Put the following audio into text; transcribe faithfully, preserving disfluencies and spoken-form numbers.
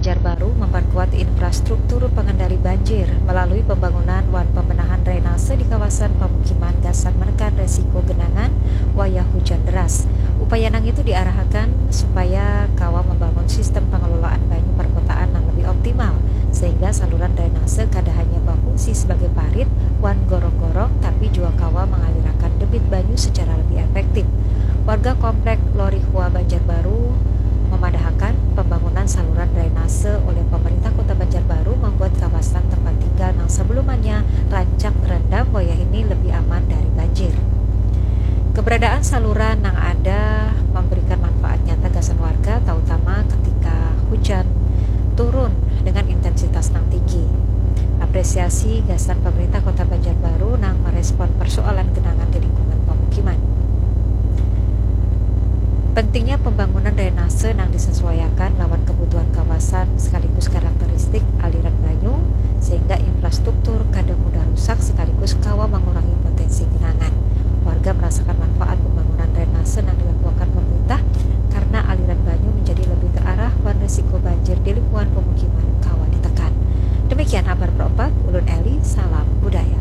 Banjarbaru memperkuat infrastruktur pengendali banjir melalui pembangunan wan pembenahan drainase di kawasan pemukiman gasan menekan resiko genangan wayah hujan deras. Upaya nang itu diarahakan supaya kawa membangun sistem pengelolaan banyu perkotaan yang lebih optimal, sehingga saluran drainase kada hanya berfungsi sebagai parit wan gorong-gorong, tapi juga kawa mengalirakan debit banyu secara lebih efektif. Warga Komplek Lorihua Banjarbaru memadahakan pembangunan saluran drainase oleh pemerintah Kota Banjarbaru membuat kawasan tempat tinggal yang sebelumnya rancak terendam wayah ini lebih aman dari banjir. Keberadaan saluran yang ada memberikan manfaat nyata gasan warga, terutama ketika hujan turun dengan intensitas yang tinggi. Apresiasi gasan pemerintah Kota Banjarbaru nang merespon persoalan genangan di lingkungan pemukiman. Pentingnya pembangunan drainase nang disesuaiakan lawan kebutuhan kawasan sekaligus karakteristik aliran banyu, sehingga infrastruktur kada mudah rusak sekaligus kawa mengurangi potensi genangan. Warga merasakan manfaat pembangunan drainase nang dilakukan pemerintah karena aliran banyu menjadi lebih terarah wan risiko banjir di lingkungan pemukiman kawa ditekan. Demikian habar perempat, ulun Eli, salam budaya.